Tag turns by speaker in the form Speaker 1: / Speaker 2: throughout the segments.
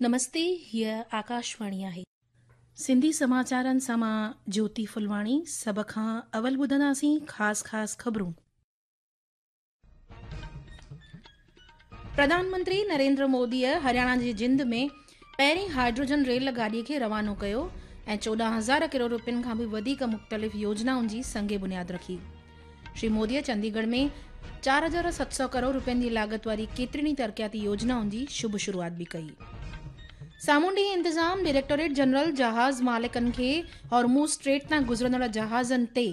Speaker 1: نمستي هيء آڪاشواڻي آهي. سنڌي سماچارن سان مان جوتي ڦلواڻي سڀ کان اول ٻڌنداسين خاص خاص خبرون. پرڌان منتري نريندر موديء هرياڻا جي جند ۾ پهرين هائيڊروجن ريل گاڏي کي روانو ڪيو ۽ 14,000 ڪروڙ روپين کان به وڌيڪ مختلف يوجنائن جي سنگ بنياد رکي. شري موديء چنديڳڙهه ۾ 4,700 ڪروڙ روپين جي لاڳت واري ڪيترين ئي ترقياتي يوجنائن جي شڀ شروعات به ڪئي. سامونڊي انتظام ڊائريڪٽوريٽ جنرل جهاز مالڪن کي هرموز اسٽريٽ تان گذرندڙ جهازن تي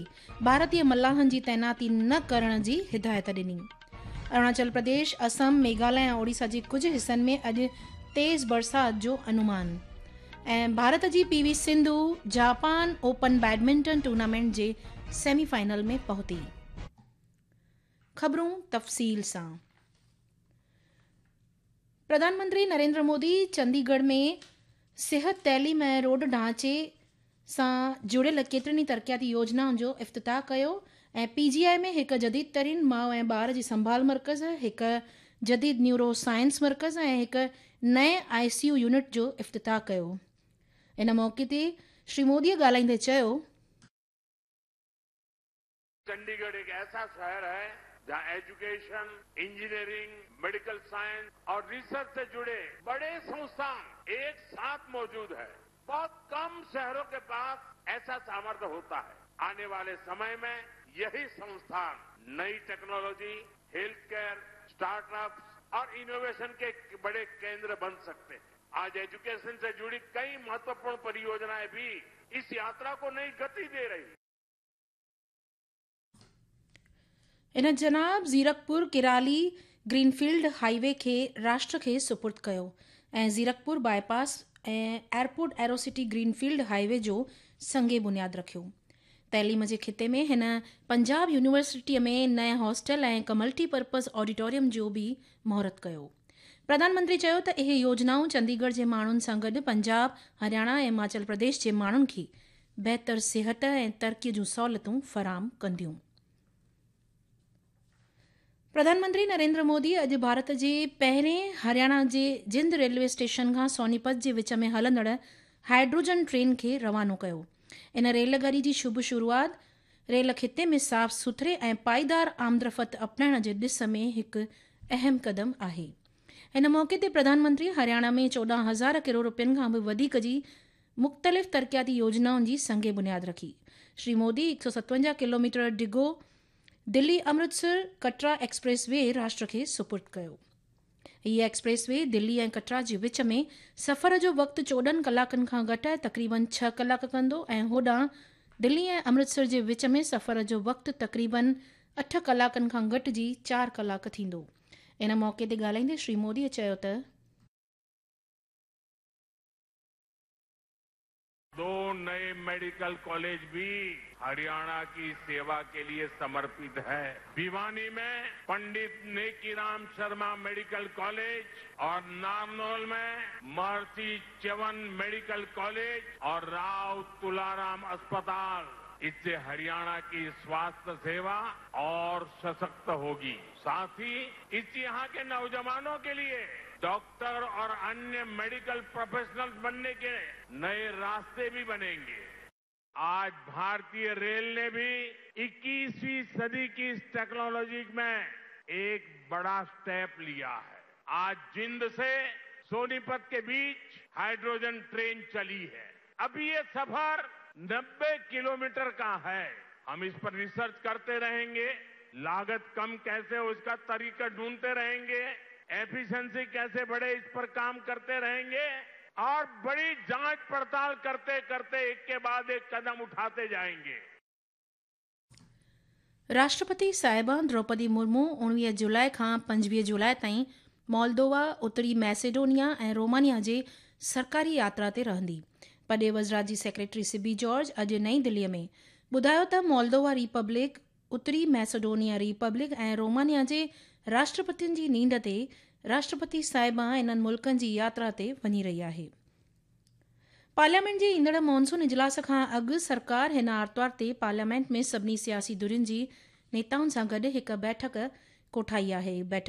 Speaker 1: ڀارتي ملاحن جي تعيناتي نه ڪرڻ جي هدايت ڏني. اروناچل پرديش، اسم، ميگهاليه ۽ اوڙيسا جي ڪجهه حصن ۾ اڄ تيز برسات جو انومان ۽ ڀارت جي P V Sindhu Japan open badminton tournament جي سيمي فائنل ۾ پهتي. خبرون تفصيل سان. پرڌان منتري نريندر مودي چنديڳڙهه ۾ صحت، تعليم ۽ روڊ ڍانچي سان جڙيل ڪيترين ئي ترقياتي يوجنائن جو افتتاح ڪيو ۽ پي جي آء ۾ هڪ جديد ترين ماء ۽ ٻار جي سنڀال مرڪز، هڪ جديد نيورو سائنس مرڪز ۽ هڪ نئين آء سي يو يونٽ جو افتتاح ڪيو. ان موقعي تي شري مودي ڳالهائيندي چيو.
Speaker 2: چنڊيڳڙهه ايڪ ايسا شهر هي جهان ايجوڪيشن، انجنيئرنگ، ميڊيڪل سائنس اور ريسرچ سي جڙي بڙي سنسٿان ايڪ ساٿ موجود هي. بهت ڪم شهرون ڪي پاس ايسا سامرٿ هوتا هي. آني والي سمي مين يهي سنسٿان نئي technology, health care, start ups اور انوويشن ڪي بڙي ڪيندر بن سڪتي هي. آج ايجوڪيشن سي جڙي ڪئي مهتوپورڻ پريوجنائين ڀي اس ياترا ڪو نئي گتي the رهي.
Speaker 1: هن جناب زيرڪپور ڪرالي گرين فيلڊ هاء وي کي راشٽر کي سپرد ڪيو ۽ Zirakpur bypass ۽ airport aerocity greenfield highway جو سنگ بنياد رکيو. تعليم جي خطي ۾ هن پنجاب يونيورسٽيء ۾ نئين هاسٽل ۽ هڪ ملٽي پرپز آڊيٽوريم جو به مهورت ڪيو. پرڌان منتري چيو ته اهي يوجنائون چنديڳڙهه جي ماڻهن سان گڏ پنجاب، هرياڻا ۽ هماچل پرديش جي ماڻهن کي بهتر صحت ۽ ترقي جون سهولتون فراهم ڪنديون. پرڌان منتري نريندر مودي اڄ ڀارت جي پهرين هرياڻا جي جند ريلوي اسٽيشن کان سونيپت جي وچ ۾ هلندڙ هائيڊروجن ٽرين کي روانو ڪيو. ان ريل گاڏي جي شڀ شروعات ريل خطي ۾ صاف سٿري ۽ پائيدار آمدرفت اپنائڻ جي ڏس ۾ هڪ اهم قدم آهي. ان موقعي تي پرڌان منتري هرياڻا ۾ 14,000 ڪروڙ رپين کان به وڌيڪ جي مختلف ترقياتي يوجنائن جي سنگ بنياد رکي. شري مودي 157 ڪلوميٽر ڊگهو دلي امرتسر ڪٽرا ايڪسپريس وي راشٽر کي سپرد ڪيو. هيء ايڪسپريس وي دلي ۽ ڪٽرا جي وچ ۾ سفر جو وقت 14 ڪلاڪن کان گهٽائي تقريبن ڇهه ڪلاڪ ڪندو ۽ هوڏانهن دلي ۽ امرتسر جي وچ ۾ سفر جو وقت تقريبن اٺ ڪلاڪن کان گهٽجي چار ڪلاڪ ٿيندو. ان موقعي تي ڳالهائيندي شري مودي چيو ته.
Speaker 2: دو نئي ميڊيڪل ڪاليج ڀي هرياڻا ڪي سيوا ڪي ليي سمرپت هي. ڀيواني مين پنڊت نيڪيرام شرما ميڊيڪل ڪاليج اور نارنول مين مهرشي چيون ميڊيڪل ڪاليج اور راء تولارام اسپتال اس سي هرياڻا ڪي سواستھ سيوا اور سشڪت هوگي. ساٿ هي اس يهان ڪي نوجوانون ڪي ليي ڊاڪٽر اور انيه ميڊيڪل پروفيشنلز بنني ڪي نئي راستي ڀي بنينگي. آج ڀارتيه ريل ني ڀي اڪيسوين صدي ڪي اس ٽيڪنالوجي مين ايڪ بڙا اسٽيپ ليا هي. آج جند سي سونيپت ڪي بيچ هائيڊروجن ٽرين چلي هي. ابهي يه سفر 90 ڪلوميٽر ڪا هي. هم اس پر ريسرچ ڪرتي رهينگي، لاگت ڪم ڪيسي هو اس ڪا طريقه ڍونڍتي رهينگي، ايفيشنسي ڪيسي بڙهي اس پر ڪام ڪرتي رهينگي اور بڙي جانچ پڙتال ڪرتي ڪرتي ايڪ ڪي بعد ايڪ قدم اٺاتي جائينگي.
Speaker 1: راشٽرپتي صاحبه دروپدي مرمو 19 جولاء کان 25 جولاء تائين مولدووا، اتري ميسيڊونيا ۽ رومانيا جي سرڪاري ياترا تي رهندي. پرڏيهه وزارت جي سيڪريٽري سبي جارج اڄ نئين دهلي ۾ ٻڌايو ته مولدووا ريپبلڪ، اتري ميسيڊونيا ريپبلڪ ۽ رومانيا جي راشٽرپتين جي نينڍ تي راشٽرپتي صاحبه انهن ملڪن جي ياترا تي وڃي رهي آهي. پارليامينٽ جي ايندڙ مانسون اجلاس کان اڳ سرڪار هن آرتوار تي پارليامينٽ ۾ سڀني سياسي ڌرين جي نيتائن سان گڏ هڪ بيٺڪ ڪوٺائي آهي. بيٺڪ.